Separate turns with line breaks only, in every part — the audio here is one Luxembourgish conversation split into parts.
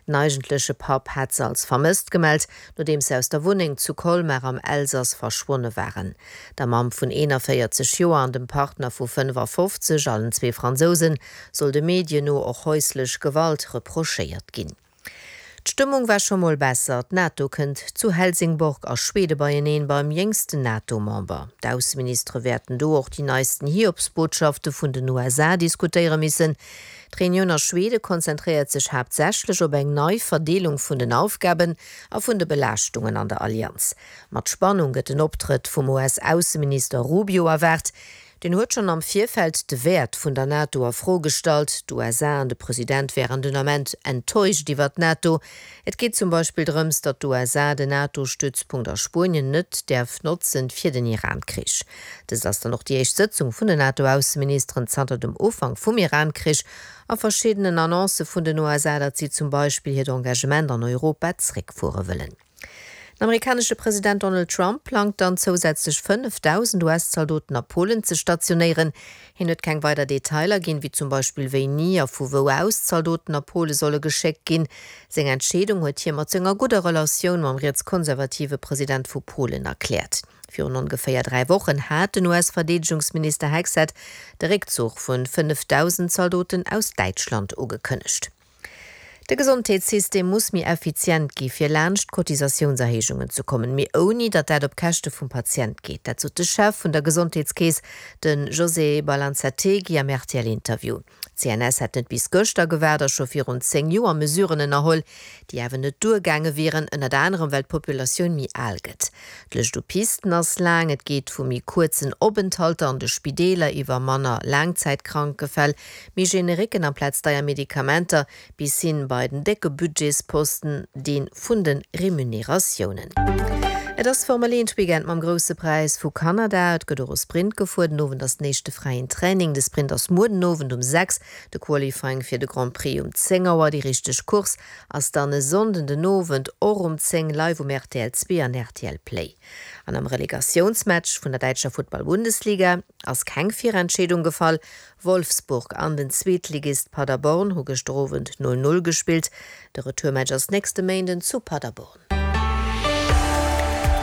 Den eigentleche Papp hat se als vermësst gemellt, nodeems se aus der Wunneng zu Colmar am Elsass verschwonne waren. Der Mamm vun 41 Joer an dem Partner vu 55, allen zwee Fransousen, soll de Medien no och häuslech Gewalt reprochéiert ginn. D'Stëmmung war scho mol besser. D'NATO kënnt zu Helsingborg a Schwede beieneen, beim jéngsten NATO-Member. D'Ausseministere wäerten do och déi neisten Hiobsbotschafte vun den USA diskutéiere missen. D'Reunioun a Schwede konzentréiert sech haaptsächlech op eng nei Verdeelung vun den Aufgaben a vun de Belaaschtungen an der Allianz. Mat Spannung gëtt den Optrëtt vum US-Ausseminister Rubio erwaart. Deen huet schonn am Virfeld de Wäert vun der NATO a Fro gestallt. D'USA an de President wären den Ament enttäuscht iwwer d'NATO. Et geet zum Beispill drëms, datt d'USA den NATO-Stützpunkt a Spuenien net däerf notzen fir den Iran-Krich. Dëst ass dann och déi éischt Sëtzung vun den NATO-Ausseministeren zanter dem Ufank vum Iran-Krich a verschiddenen Annoncë vun den USA, datt si zum Beispill hiert Engagement an Europa zréckfuere wëllen. Den amerikanesche President Donald Trump plangt dann zousätzlech 5.000 US-Zaldoten a Polen ze stationéieren. Hien huet keng weider Detailer ginn, wéi zum Beispill wéini a vu wou aus d'Zaldoten a Pole solle geschéckt ginn. Seng Entscheedung huet hie mat senger gudder Relatioun mam rietskonservative President vu Polen erkläert. Virun ongeféier 3 Wochen hat den US-Verdeedegungsminister Hegseth de Réckzuch vun 5.000 Zaldoten aus Däitschland ugekënnegt. De Gesondheetssystem muss méi effizient gi fir laanscht d'Cotisatiounserhéijungen ze kommen, mee ouni datt dat op Käschte vum Patient geet. Dat sot de Chef vun der Gesondheetskeess, de José Balanzategui am RTL-Interview. D'CNS hätt net bis gëschter gewaart a scho virun 10 Joer Mesuren ënnerholl, déi awer net duergaange wieren, ënnert anerem well d'Populatioun méi al gëtt. D'Lëscht u Pisten ass laang, et geet vu méi kuerzen Openthalter an de Spideeler iwwer manner Laangzäitkrankefäll, Méi Generiquen amplaz deier Medikamenter, bis hin bei den décke Budgetsposten, deen vun den Remuneratiounen. Et ass Formel 1 Weekend mam Grousse Präis vu Kanada. Et gëtt och e Sprint gefuer. Den Owend ass den éischte fräien Training. De Sprint ass muer den Owend um 6, de Qualifying fir de Grand Prix um 10 Auer. Déi richteg Course ass dann e Sonnden den Owend och um 10 live um rtl 2 an rtl Play. An am Relegatiounsmatch vun der däitscher Futtball-Bundesliga ass keng Virentscheedung gefall. Wolfsburg an den Zweetligist Paderborn hu gëschter Owend 0, 0 gespillt. De Retourmatch ass nächste Méinden zu Paderborn.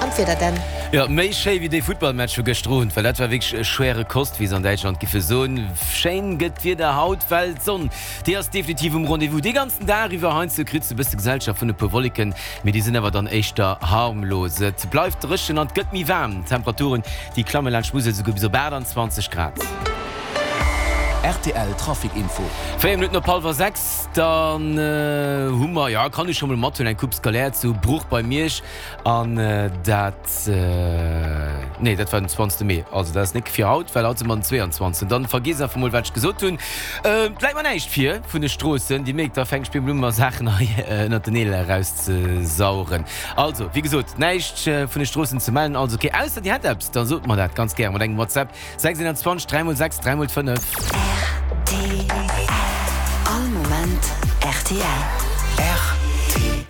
An d'Wieder Dan?
Jo, méi schéi wéi dee Futtballmatch vu gëschter Owend, well dat war wierklech schwere Kost, wéi se an Däitschland giffe soen. Schéin gëtt d'Wieder haut, well d'Sonn, déi ass definitiv um Rendez-vous dee ganzen Dag iwwer. Heiansdo kritt se e bësse Gesellschaft vun e puer Wolleken, mee déi sinn awer dann éischter harmlos. Et bleift dréchen an et gëtt méi waarm, d'Temperaturen, déi klamme laanscht d'Musel souguer bis op 28 Grad.
Rtl Trafic Info.
4 Minutten op hallwer 6, dann hu mer, jo kann ech scho mol mathuelen, eng Coupe scolaire zu Bruch bei Miersch an dat, nee dat war den 20 Mee, also dat ass nik fir haut, well haut si mer den 22. Dann vergiess einfach mol wat ech gesot hunn. Et läit mer näischt vir vun de Stroossen, Dir mierkt, da fänkt ech bemol u mer Saachen hei ënnert den Neel erauszesaugen. Also wéi gesot, näischt vun de Stroossen ze mellen, also ok, ausser Dir hätt eppes, da sot mer dat ganz gäre mat engem WhatsApp. 621 3 mol 6 3 mol 5.
Rtl. All Moment rtl.
Rtl.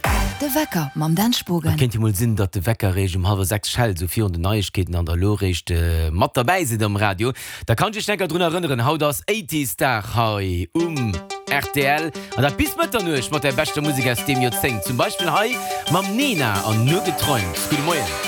De Wecker mam Dan Spogen.
Et kéint jo mol sinn, datt de Wecker eréischt um hallwer 6 schellt, esou virun den Neiegkeeten, an der elo eréischt mat derbäi sidd am Radio. Da kann ech iech enker drun erënneren, haut ass Eighties Dag hei um rtl, an dat bis Mëtternuecht mat der beschter Musek aus deem Joerzéngt. Zum Beispill hei mam Nena an Nur geträumt. Gudde Moien.